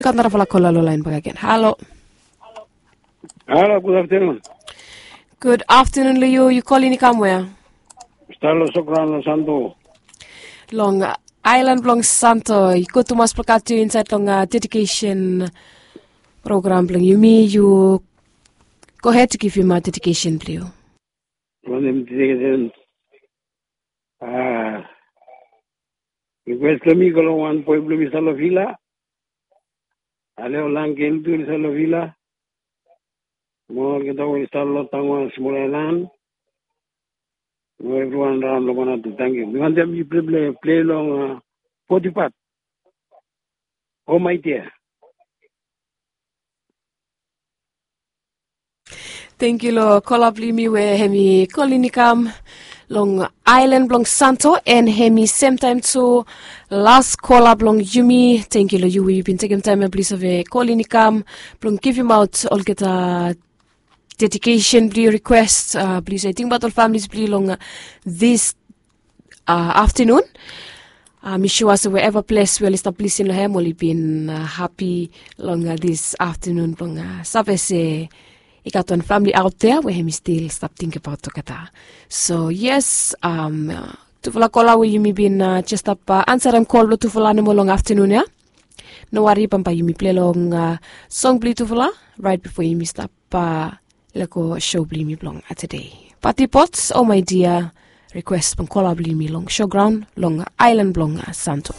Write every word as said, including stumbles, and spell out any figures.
Gat narafala kola long lain bakegen. Halo. Halo, gud aftenun. Gud aftenun long yu. Yu kolin i kam wea? Stalo sokran long Santo. Long ailan blong Santo. I gud tumas blong gat yu insaed long dedikesen program blong yumi. Yu gohed givim dedikesen blong yu. Wanem dedikesen? Rikwes blong mi i go long wan boe blong mi i stap long vila. Ale ol angel tu oli stap long vila. Mo olgeta we oli stap long taun wan smol ailan. Mo evriwan raon long wan atu tangkiu. Mi wantem yu pleple plei long potipat. O mai dia. Tengkiu long kola blong yumi we hem i kolin i kam long ailan blong Santo, en hem i semtaem tu las kola blong yumi. Tengkiu long yu we yu bin tekem taem ya blong yu save kolin i kam blong givimaot olgeta dedikesen blong yu, rikwes blong yu save tingbaot ol familis blong yu long dis aftenun. Mi sua se we eva ples we oli stap lisin long hem oli bin hapi long dis aftenun blong save se i gat wan famili aot dea we hem i stil stap tingbaot olgeta. So yes, tufala kola we yumi bin jes stap ansarem kol blong tufala nomo long aftenun ya. No wari, bambae yumi plei long song blong yutufala raet bifo yumi stap lego sou blong yumi blong tede. Pati Pots, O Mai Dia, rikwes blong kola blong yumi long sograon long ailan blong Santo.